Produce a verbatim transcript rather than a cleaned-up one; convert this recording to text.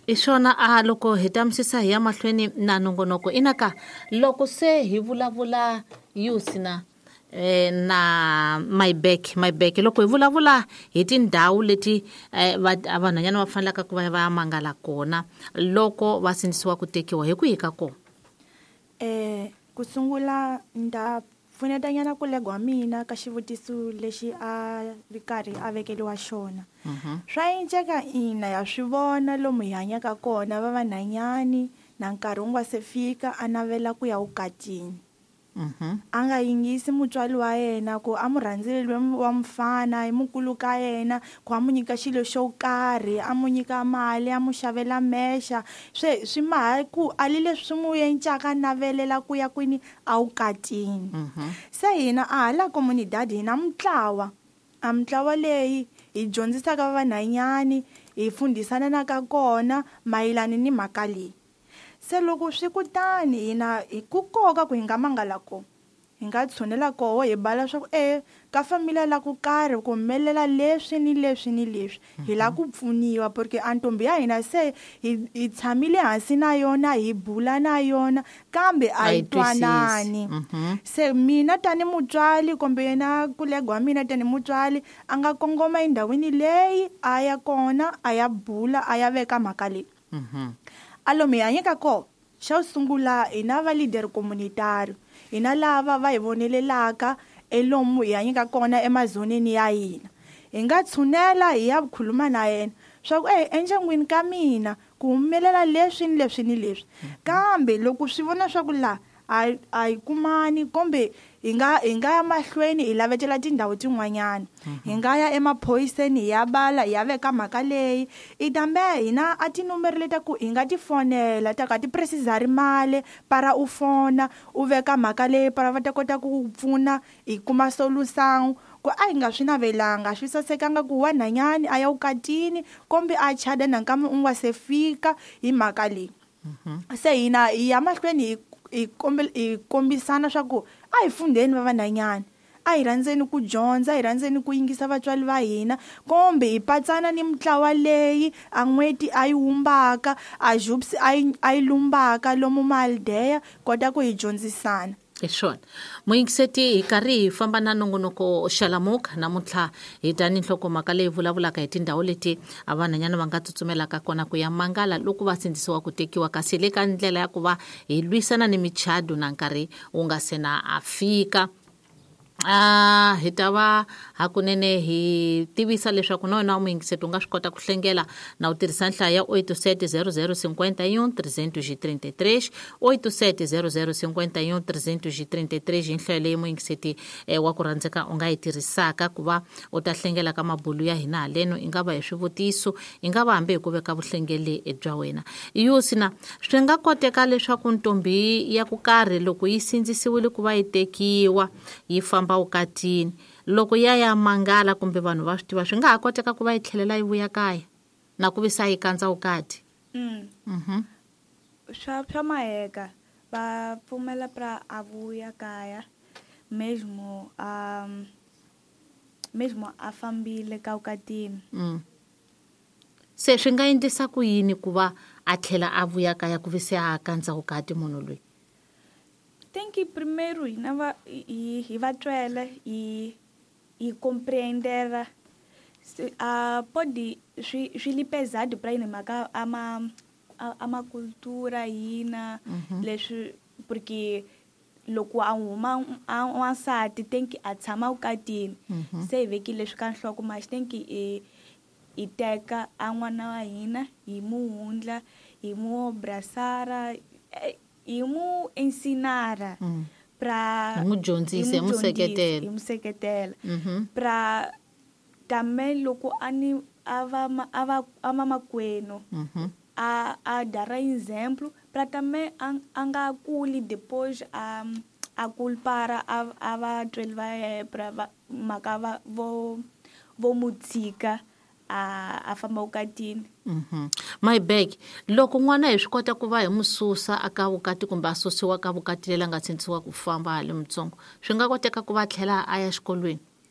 I swona a loko hi tamisisa hi ya mahlweni na nongonoko inaka loko se hi vulavula yusina eh, na my back my back loko hi vulavula hi tindhawu leti eh, va- vanhwanyana va fanelaka ku va va ya mangala kona loko va sindzisiwa ku tekiwa hi kwihi ka kona? Eh ku sungula nda pfunetanyana ku legwa mina ka xivutiso lexi a ri karhi a vekeliwa xona. Swa enceka ina ya swi vona lomu hi hanyaka kona va vanhanyani na nkarhi wu nga se fika a navela ku ya vukatini. Mhm. A nga yingisi mutswari wa yena ku a mu rhandzile loyi wa mufana i mukulu ka yena ku a mu nyika xilo xo karhi a mu nyika mali a mu xavela mexa swe swi maha ku a li leswi swi mu encaka a navelela ku ya kwini a vukatini. Se hina a hala comunidad hi na mutlawa a mutlawa leyi hi dyondzisaka vanhanyani hi fundisana na ka kona mayelana ni mhaka leyi. Se loko swi kutani hina hi ku koka ku hi nga mangala kona hi nga tshunela koho hi bala swa ku e ka familia la ku karhi ku humelela leswi ni leswi ni leswi hi lava ku pfuniwa porque a ntombi ya hina se hi hi tshamile hansi na yona hi bula na yona kambe a A yi yi twisisi. twanani. Mhm. Se mina tani mutswari kumbe yena kulegwa mina tani mutswari a nga kongoma endhawini leyi a ya kona a ya bula a ya veka mhaka leyi. Mhm. A lomu hi hanyaka kona xa sungula hi na va leader communitario hi na lava va hi vonelelaka elomu hi hanyaka kona emazoneni ya hina. Hi nga tshunela hi ya khuluma na yena swa ku e endyangwini ka mina ku humelela leswi ni leswi ni leswi kambe loko swi vona swa ku la a a hi kumani kumbe hi nga hi nga ya mahlweni hi lavetela tindhawu tin'wanyana. Hi nga ya emaphoyiseni hi ya bala hi ya veka mhaka leyi i tambe hina a tinumere leta ku hi nga ti fonela ta ka ti precisari mali para u fona u veka mhaka leyi para va ta kota ku ku pfuna hi kuma solution ku a hi nga swi navelanga swi sasekanga ku wanhanyani a ya vukatini kumbe a chada nakambe u nga se fika hi mhaka leyi. Se hina hi ya mahlweni hi hi kombe hi kombisana swa ku a hi fundeni va vanhanyana a hi rhandzeni ku dyondza a hi rhandzeni ku yingisa vatswari va hina kumbe hi patsana ni mitlawa leyi a n'hweti a yi wumbaka a jupsi a yi a yi lumbaka lomu mahaldeya kota ku hi dyondzisana. Hi swona muyingiseti hi karhi hi famba na nongonoko Xalamuka namuntlha hi ta ni nhlokomhaka leyi vulavulaka hi tindhawu leti a vanhwanyana va nga tsutsumelaka kona ku ya mangala loko va sindzisiwa ku tekiwa kasi le ka ndlela ya ku va hi lwisana ni michado na nkarhi wu nga se na a fika. Ah, hi ta va hakunene hi tivisa leswaku na wena muyingiseti u nga swi kota ku hlengela na u tirhisa nhlayo ya oito sete zero zero cinquenta e um trezentos e trinta e três, oito sete zero zero cinquenta e um trezentos e trinta e três hi nhlayo leyi muyingiseti, eh, wa ku rhandzeka u nga yi tirhisaka ku va u ta hlengela ka mabulu ya hina haleno i nga va hi swivutiso i nga va hambi hi ku veka vuhlengeli bya wena. Yusina swi nga koteka leswaku ntombi ya ku karhi loko yi sindzisiwile ku va yi tekiwa yi famba vukatini loko ya ya mangala kumbe vanhu va swi tiva swi nga ha koteka ku va yi tlhelela yi vuya kaya na ku visa yi kandza vukati? Mm. Mhm. Swa swa maheka va pfumela pra a vuya kaya mesmo a mesmo a fambile ka vukatini. Mm. Se swi nga endlisa ku yini ku va a tlhela a vuya kaya ku vise a kandza vukati munhu loyi? Tem que primeiro hina va hi hi va twela hi hi compreender se a pode swi swi li pesado pra hina mhaka a ma a, a ma cultura hina Mhm. leswi porque loko a huma a wansati tem que a tshama vukatini. Mhm. Se hi vekile leswi ka nhloko mas tem que hi hi teka a n'wana wa hina hi mu hundla hi mu abraçar hi mu ensinar Mm. pra Hi mu dyondzisa, hi mu hi mu dyondzisa, seketela. hi mu seketela. Mhm. Pra também loko a ni a va ma, a va a va makwenu Mhm. a a dar exemplo pra também a, a nga kuli depois a a culpar a a va tweli va yena pra va mhaka va vo vo mu tshika a a famba vukatini. Mhm. My bag loko n'wana hi swi kota ku va hi mu susa aka vukati kumbe a susiwa ka vukati leri a nga sindzisiwa ku famba hale mutsongo swi nga koteka ku va tlhela a ya xikolweni?